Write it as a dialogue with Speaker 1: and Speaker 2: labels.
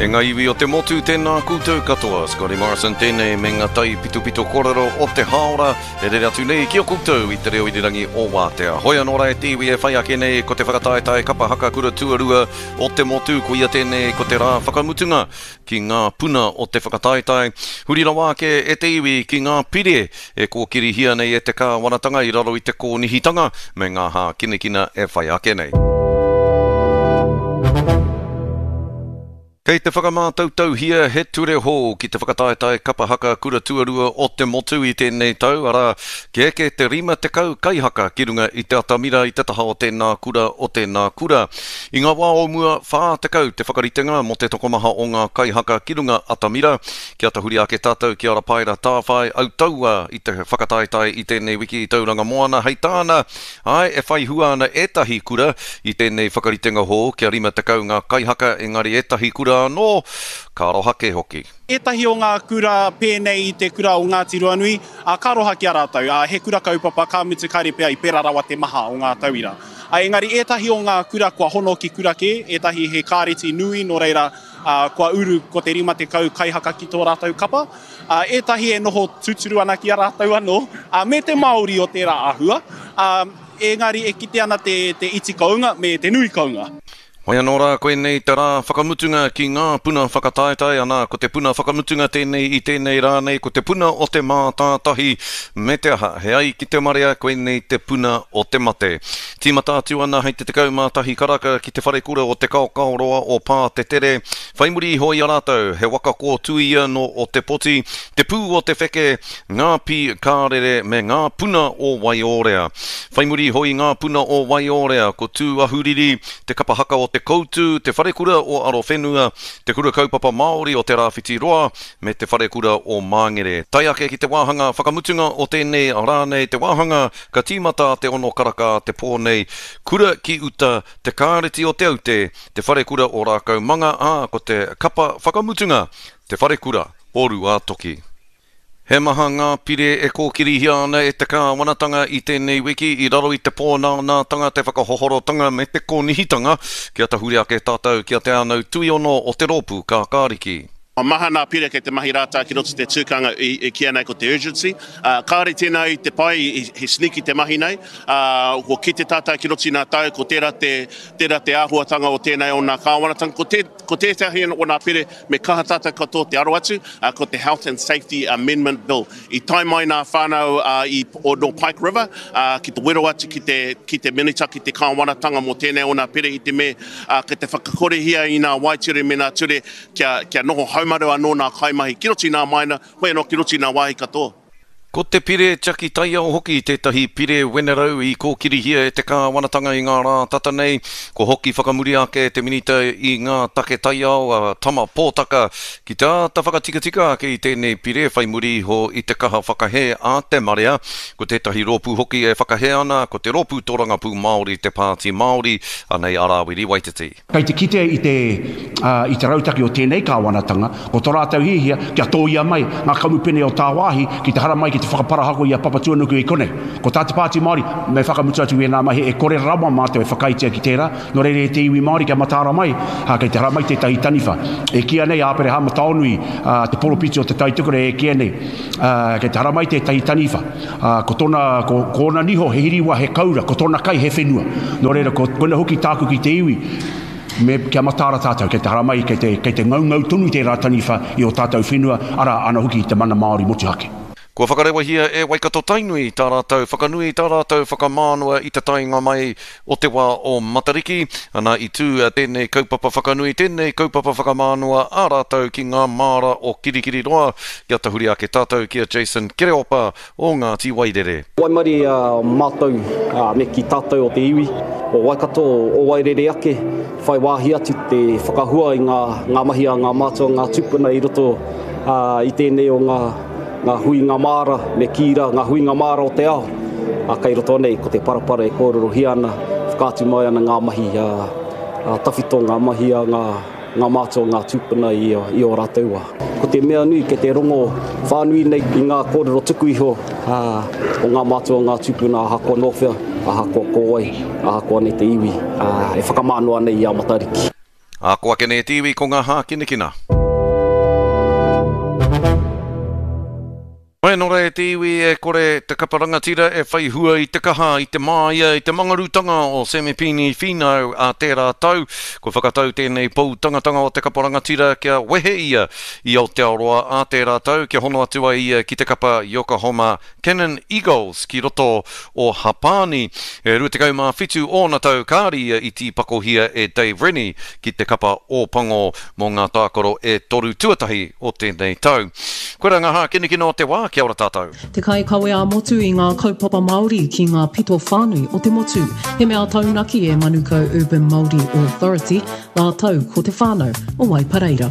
Speaker 1: E ngā iwi o te motu, tēnā koutou katoa. Scotty Morrison tēnei me ngā tai pitopito kōrero o te hāora e rere atu nei ki a koutou i te reo irirangi o Wātea. Hoi anō rā e te iwi e whai ake nei ko te whakataetae kapa haka kura tuarua o te motu, koia tēnei ko te rā whakamutunga ki ngā puna o te whakataetae. Huri rawa ake e te iwi ki ngā pire e kōkirihia nei e te kāwanatanga i raro i te kōnihitanga me ngā hākinakina e whai ake nei. Kei te whakamātautauhia he ture hou ki te whakataetae kapa haka kura tuarua o te motu i tēnei tau, arā, kia eke te 50 kaihaka ki runga i te atamira i te taha o tēnā kura, o tēnā kura. I ngā wā o mua, 40 te whakaritenga mō te tokomaha o ngā kaihaka ki runga atamira. Kia tahuri ake tātou ki a Rapaera Tāwhai, autaua i te whakataetae i tēnei wiki i Tauranga Moana, hei tāna, Āe, e whai hua ana ētahi kura i tēnei whakaritenga hou kia 50 ngā kaihaka engari ētahi kura anō, ka aroha kē hoki.
Speaker 2: Ētahi o ngā kura pēnei i te kura o Ngāti Ruanui, ā, ka aroha ki a rātou, ā, he kura kaupapa, ka mutu kāre pea i pērā rawa te maha o ngā tauira. Ā, engari ētahi o ngā kura kua hono ki kura kē, ētahi he kāreti nui nō reira, ā, kua uru ko te 50 kaihaka ki tō rātou kapa. Ā, ētahi e noho tūturu ana ki a rātou anō, ā, me te Māori o tērā āhua, ā, engari e kite ana te, te iti kounga me te nui kounga.
Speaker 1: Hoi anō rā, koinei te rā whakamutunga ki ngā puna whakataetae, anā, ko te puna whakamutunga tēnei i tēnei rā nei, ko te puna o te mātātahi, me te aha, he ai ki te marea, koinei te puna o te mate. Tīmata atu ana hei te 11 karaka ki te wharekura o Te Kaokaoroa o Pātetere, Whai muri iho i a rātou, he waka kōtuia nō Ōtepoti, te pū o te wheke, ngā pī kārere me ngā puna o Waiōrea. Whai muri iho i ngā puna o Waiōrea, ko Tūahuriri, te kapa haka o Te Koutu, te wharekura o Arowhenua, te Kura Kaupapa Māori o Te Rāwhiti Roa, me te wharekura o Māngere. Tae ake ki te wāhanga whakamutunga o tēnei rā nei, te wāhanga ka tīmata a te ono karaka a te pō nei, Kura ki uta, Te Kāreti o Te Aute, Te Wharekura o Rākaumanga, ā, ko te kapa whakamutunga, Te Wharekura o Rūātoki. He maha ngā pire e kōkirihia ana e te kāwanatanga i tēnei wiki i raro i te pōnānātanga, te whakahohorotanga me te kōnihitanga kia tahuri ake tātou ki a Te Ānau Tuiono o te Rōpū Kākāriki.
Speaker 3: Maha nā pire kei te mahi rātā ki roto te tūkanga i kīia nei ko te urgency. Kāore tēnā i te pai, he sneaky te mahi nei. Kua kite tātau ki roto i nā tau, ko tērā te, tērā te āhuatanga o tēnei o nā kāwanatanga. Ko te, ko tētahi o nā pire me kaha tātau katoa te aro atu, ko te Health and Safety Amendment Bill. I tae mai nā whānau i, o, nō Pike River ki te wero atu ki te, ki te Minita, ki te kāwanatanga mō tēnei o nā pire i te me, kei te whakakorehia i nā waeture me nā ture kia, kia noho haumaru anō nā kaimahi ki roto i nā maina, hoi anō ki roto i nā wāhi katoa.
Speaker 1: Ko te pire tiaki taiao hoki tētahi pire wenerau i kōkirihia e te kāwanatanga i ngā rā tata nei. Kua hoki whakamuri ake te Minita i ngā Take Taiao, a Tama Potaka, ki te āta whakatikatika ake i tēnei pire whai muri iho i te kaha whakahē a te marea. Ko tētahi rōpū hoki e whakahē ana, ko te Rōpū Torangapū Māori, te Pāti Māori, anei a Rāwiri Waititi.
Speaker 4: Kei te kite i te, i te rautaki o tēnei kāwanatanga, ko tō rātou hiahia kia tōia mai ngā kamupene o tāwāhi ki te haramai ki te whakaparahako i a Papatuanuku i konei. Ko tā te Pāti Māori, me whakamutu atu ēnā mahi, e kore rawa mātou e whakaaetia ki tērā, nō reira e te iwi Māori kia mataara mai, ā, kei te haramai tētahi taniwha. E kīia nei a Aperehama Taonui, ā, te poropiti o Te Tai Tokerau e kīia nei, ā, kei te haramai tētahi taniwha. Ā, ko tōna, ko, ko ōna niho he hiriwa, he kaura, ko tōna kai he whenua. Nō reira, ko, koina hoki tāku ki te iwi, me, kia mataara tātou, kei te haramai, kei te, kei te ngaungau tonu tērā taniwha i ō tātou whenua, arā, ana hoki i te mana Māori motuhake.
Speaker 1: Kua whakarewahia e Waikato-Tainui tā rātou whakanui, tā rātou whakamānawa i te taenga mai o te wā o Matariki. Ana, i tū tēnei kaupapa whakanui, tēnei kaupapa whakamānawa a rātou ki ngā māra o Kirikiriroa, Kia tahuri ake tātou ki a Jason Kereopa o Ngāti Wairere.
Speaker 5: Waimarie a mātou, me kī tātou o te iwi o Waikato, o Wairere ake, whai wāhi atu te whakahua i ngā mahi a ngā mātua, ngā tūpuna i roto i tēnei o ngā huinga māra, me kī rā, ngā huinga māra o te ao. Kei roto nei ko te parapara e kōrerohia ana, whakaatu mai ana ngā mahi tawhito, ngā mahi a ngā. Ngā mātua, ngā tūpuna i ō rātou wā. Ko te mea nui kei te rongo whānui nei i ngā kōrero tuku iho o ngā mātua, ngā tūpuna ahakoa nō whea, ahakoa ko wai, ahakoa nei te iwi e whakamānoa nei i a Matariki.
Speaker 1: Ā, ko ake nei e te iwi ko ngā hākinakina. Hoi anō rā e te iwi, e kore te kapa rangatira e whai hua i te kaha, i te māia, i te mangarutanga o Semipini Finau ā tērā tau. Kua whakatau tēnei pou tangatanga o te kapa rangatira kia wehe ia i Aotearoa ā tērā tau kia hono atu ai ia ki te kapa Yokohama Canon Eagles ki roto o Hapāni. E 27 ōna tau kāre ia i tīpakohia e Dave Rennie ki te kapa Ōpango mō ngā tākaro e toru tuatahi o tēnei tau. Koirā ngā hākinakina o te wā, kia ora tātou.
Speaker 6: Te kaikawe ā-motu i ngā kaupapa Māori ki ngā pito whānui o te motu. He mea taunaki e Manukau Urban Māori Authority rātou ko te whānau o Waipareira.